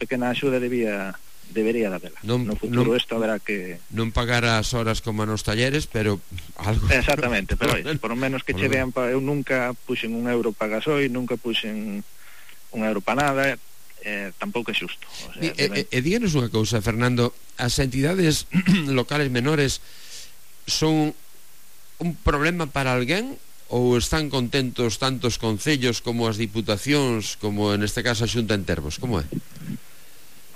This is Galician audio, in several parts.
pequena axuda debería de habela. No futuro isto haberá que... Non pagar as horas como nos talleres, pero algo... Exactamente, pero por lo menos que che vean, eu nunca puxen €1 para gasoil, nunca puxen €1 para nada, tampouco é xusto. O sea, díganos unha cousa, Fernando, as entidades locales menores son un problema para alguén ou están contentos tanto os concellos como as diputacións como neste caso a Xunta en Termos? Como é?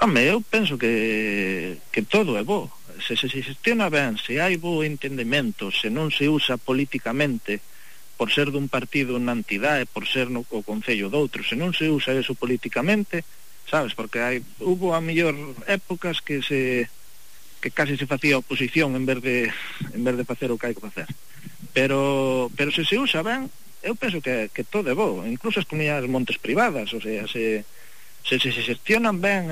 Home, eu penso que todo é bo. Se xestiona ben, se hai bo entendemento, se non se usa políticamente por ser dun partido na entidade, por ser o concello doutro, se non se usa eso políticamente, sabes, porque hubo a mellor épocas que casi se facía oposición en vez de facer o que hai que facer. Pero se usa ben, eu penso que todo é bo, incluso as comunidades montes privadas, o sea, se xestionan ben,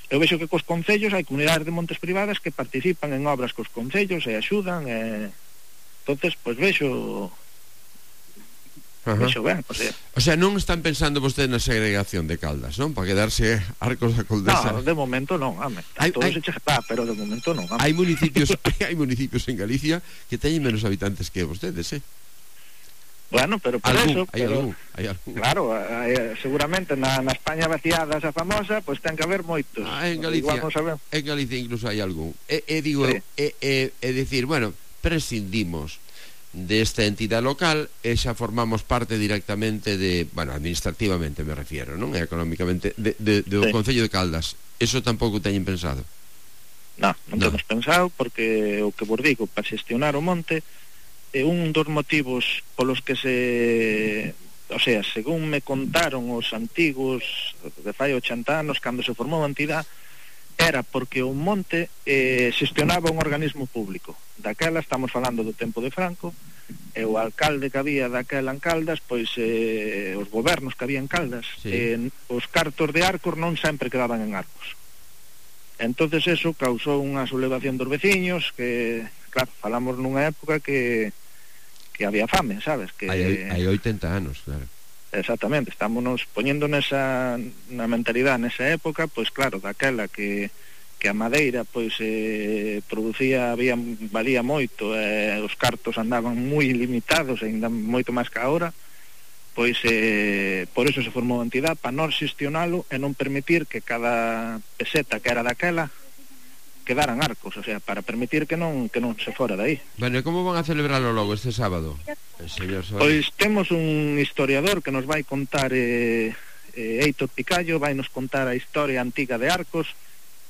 eu vexo que cos concellos hai comunidades de montes privadas que participan en obras cos concellos e axudan, entonces, pois vexo ben, o sea, non están pensando vostedes na segregación de Caldas, non? Para quedarse Arcos da Condesa. No, de momento non, todo se che está, pero de momento non. Hai municipios en Galicia que teñen menos habitantes que vostedes, Bueno, pero por eso... Hai algún. Claro, seguramente na España vaciada esa famosa, pues ten que haber moitos. En Galicia incluso hai algún. Digo, decir, bueno, prescindimos desta entidade local e xa formamos parte directamente de, bueno, administrativamente me refiero, non? E económicamente do Concello de Caldas. Eso tampouco teñen pensado? Non temos pensado, porque o que vos digo, para xestionar o monte un dos motivos polos que o sea, según me contaron os antigos de fai 80 anos cando se formou a entidade, era porque o monte xestionaba un organismo público. Daquela, estamos falando do tempo de Franco, e o alcalde que había daquela en Caldas, pois os gobernos que había en Caldas, os cartos de Arcos non sempre quedaban en Arcos. Entonces eso causou unha sublevación dos veciños, que, claro, falamos nunha época que había fame, sabes? Hai 80 anos, claro. Exactamente, estámonos poñendo na mentalidade nesa época, pois claro, daquela que a madeira pois valía moito, os cartos andaban moi limitados, ainda moito máis que agora, pois por eso se formou a entidade, para non xestionalo e non permitir que cada peseta que era daquela quedaran Arcos, o sea, para permitir que non se fora de aí. Bueno, e como van a celebrarlo logo este sábado, señor Soares? Pois temos un historiador que nos vai contar, Heitor Picallo, vai nos contar a historia antiga de Arcos,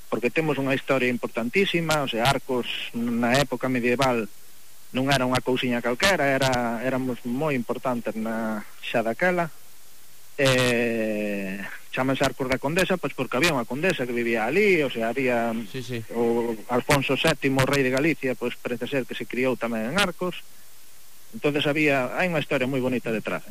porque temos unha historia importantísima, o sea, Arcos na época medieval non era unha cousiña calquera, éramos moi importantes xa daquela, chámanse Arcos da Condesa, pois porque había unha condesa que vivía ali, o sea, había o Alfonso VII, o rei de Galicia, pois parece ser que se criou tamén en Arcos. Entonces hai unha historia moi bonita detrás.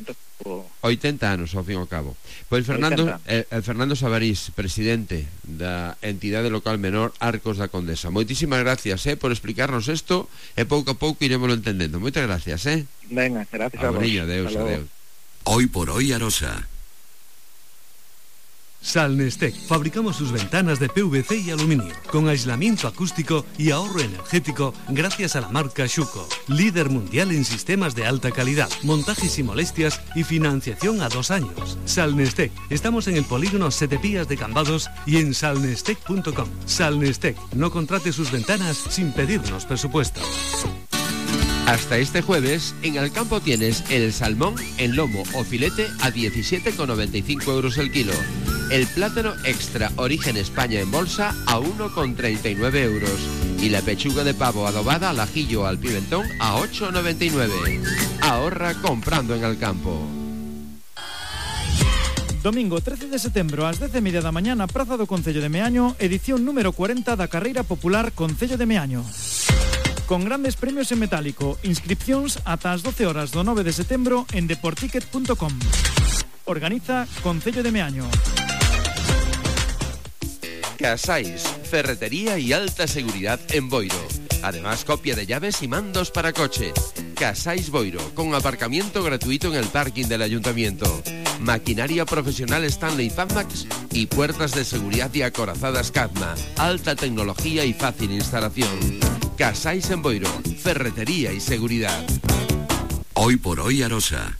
80 anos ao fin e ao cabo. Pois Fernando Sabarís, presidente da entidade local menor Arcos da Condesa. Moitísimas gracias por explicarnos isto e pouco a pouco iremoslo entendendo. Moitas gracias. Venga, gracias a vos. Adeus. Hoy por hoy Arosa. Salnestec. Fabricamos sus ventanas de PVC y aluminio, con aislamiento acústico y ahorro energético gracias a la marca Schuco, líder mundial en sistemas de alta calidad, montajes sin molestias y financiación a 2 años. Salnestec. Estamos en el polígono Setepías de Cambados y en salnestec.com. Salnestec. No contrate sus ventanas sin pedirnos presupuesto. Hasta este jueves, en Alcampo tienes el salmón en lomo o filete a 17,95 euros el kilo. El plátano extra origen España en bolsa a 1,39 euros. Y la pechuga de pavo adobada al ajillo o al pimentón a 8,99. Ahorra comprando en Alcampo. Domingo 13 de setembro ás 10:30 da mañá na Praza do Concello de Meaño, edición número 40 da Carreira Popular Concello de Meaño. Con grandes premios en metálico, inscripcións ata as 12 horas do 9 de setembro en deporticket.com. Organiza Concello de Meaño. Casais, ferretería y alta seguridad en Boiro. Además, copia de llaves y mandos para coche. Casais Boiro, con aparcamiento gratuito en el parking del ayuntamiento. maquinaria profesional Stanley Fazmax y puertas de seguridad y acorazadas Cadma. Alta tecnología y fácil instalación. Casais en Boiro, ferretería y seguridad. Hoy por hoy Arosa.